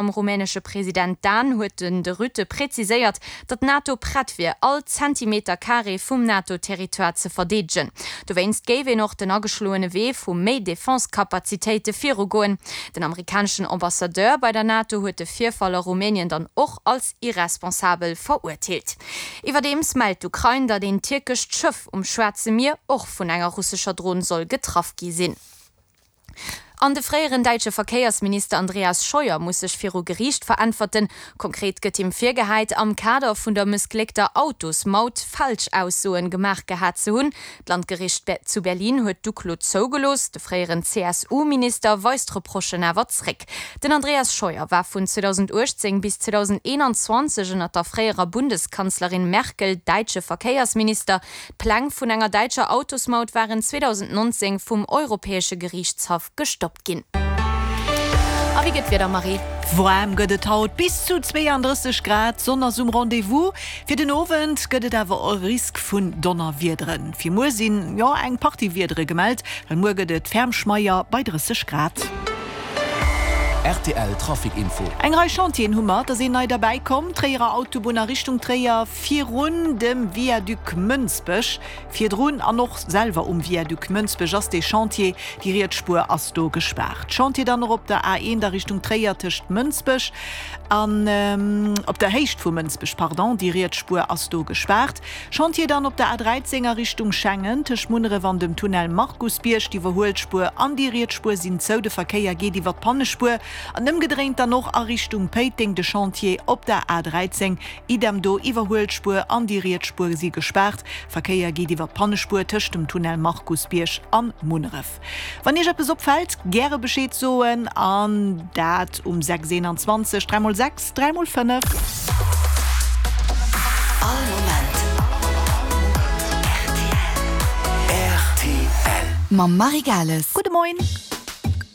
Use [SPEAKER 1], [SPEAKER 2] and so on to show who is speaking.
[SPEAKER 1] Mam rumänesche President Dan huet den de Rutte präziséiert, datt d'NATO prett wier, all Zentimeter Carré vum NATO-Territoire ze verdeedegen. Dowéinst géif een och den ageschloene Wee vu méi Defense-Kapazitéite virugoen. Den amerikaneschen Ambassadeur bei der NATO huet de Virfall a Rumänien dann och als irresponsabel verurteelt. Iwwerdeems mellt d'Ukrain, datt een tierkescht Schëff um Schwaarze Mier och vun enger russescher Dron soll getraff gi sinn. An de fréieren däitsche Verkéiersminister Andreas Scheuer muss sech viru Geriicht veräntwerten. Konkret gëtt him virgehäit, am Kader vun der mëssgléckter Autosmaut Falschaussoen gemaach gehat ze hunn. D'Landgericht zu Berlin huet d'Uklo zougelooss. De fréieren CSU-Minister weist d'Reprochen awer zréck. Den Andreas Scheuer war vun 2018 bis 2021 ënner der fréierer Bundeskanzlerin Merkel däitsche Verkéiersminister. D'Pläng vun enger däitscher Autosmaut waren 2019 vum Europäesche Geriichtshaff gestoppt ginn. A wéi gëtt d'Wieder, Marie?
[SPEAKER 2] Waarm gëtt et haut, bis zu 32 Grad, d'Sonn ass um Rendez-vous. Fir den Owend gëtt et awer e Risk vun Donnerwiederen. Fir muer sinn, jo, eng Partie Wiedere gemellt, well muer gëtt et ferm schmeier bei 30 Grad.
[SPEAKER 3] Rtl Trafic Info.
[SPEAKER 2] Eng Rei Chantieren hu mer, et ass een nei derbäi komm, Tréierer Autobunn a Richtung Tréier virun dem Viaduc Mënsbech. Virdrun an och selwer um Viaduc Mënsbech ass dee Chantier, déi riets Spuer ass do gespaart. Chantier dann och op der A1 a Richtung Tréier tëscht Mënsbech an, op der Héicht vu Mënsbech, pardon, déi riets Spuer ass do gespaart. Chantier dann op der A13 a Richtung Schengen, tëscht Munneref an dem Tunnel Markusbierg. D'Iwwerhuelspuer an déi riets Spuer sinn zou, de Verkéier geet iwwer d'Pannespuer an ëmgedréint dann och a Richtung Péiteng. De Chantier op der A13, idem do, Iwwerhuelspuer an déi riets Spuer si gespaart, Verkéier geet iwwer d'Pannespuer tëscht dem Tunnel Markusbierg an Munneref. Wann Iech eppes opfält, gäre Bescheed soen an dat um 6 21 3 mol 6 3 mol 5.
[SPEAKER 3] All Moment rtl. Rtl.
[SPEAKER 4] Mam Marie Gales.
[SPEAKER 2] Gudde Moien.